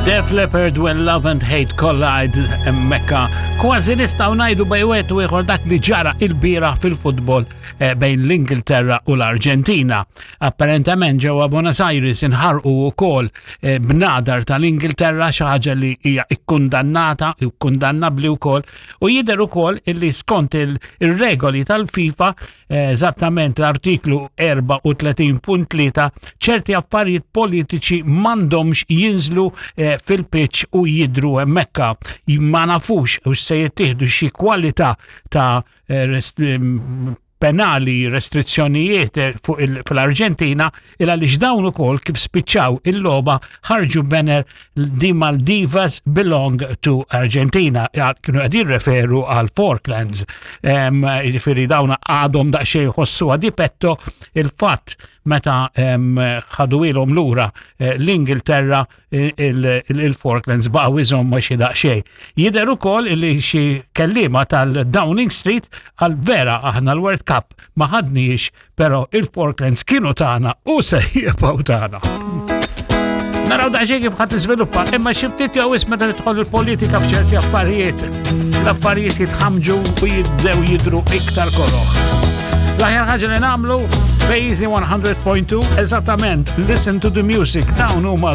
Def Leppard When Love and Hate Collide Mekka. Kważi nistgħu ngħidu bejn wieħed u ieħor dak li ġara il-bira fil-futbol eh, bejn l-Ingilterra u l-Arġentina. Apparentament ġewwa Buenos Aires inħarqu wkoll eh, bnadar tal-Ingilterra xi ħaġa li hija ikkundannata, ikkundannabbli wkoll u jidher ukoll illi skont il-regoli tal-FIFA eh, eżattament l-artiklu 34.3 ċerti affarijiet politiċi m'għandhomx jinżlu eh, fil-pitch u jidru hemmhekk. Ma nafux u se jittieħdu xi kwalità ta' eh, penali, restrizzjonijiet eh, fuq fl-Arġentina il għaliex dawn ukoll kif spiċċaw il-logħba ħarġu banner di Maldivas belong to Argentina. Kienu qed jirreferu għal Falklands. Jiġifieri dawn għadhom daqsxejn jħossu di petto il-fatt meta ħadu ilhom lura eh, l-Ingilterra il-Falklands baqgħu iżommu xi daqsxejn. Jidher ukoll li xi kelliema tal-Downing Street għal vera aħna l-World Cup ma ħadniex, però il-Falklands kienu tagħna u se jibqgħu tagħna. Naraw daqsxejn kif ħadd iżviluppa, imma xi ftit jew isma' meta tidħol il-politika f'ċerti affarijiet, l-affarijiet jitħamġu u jibdew jidru iktar koroħ. L-aħjar ħaġa li nagħmlu Bazy 100.2 eżattament Listen to the Music dawn huma.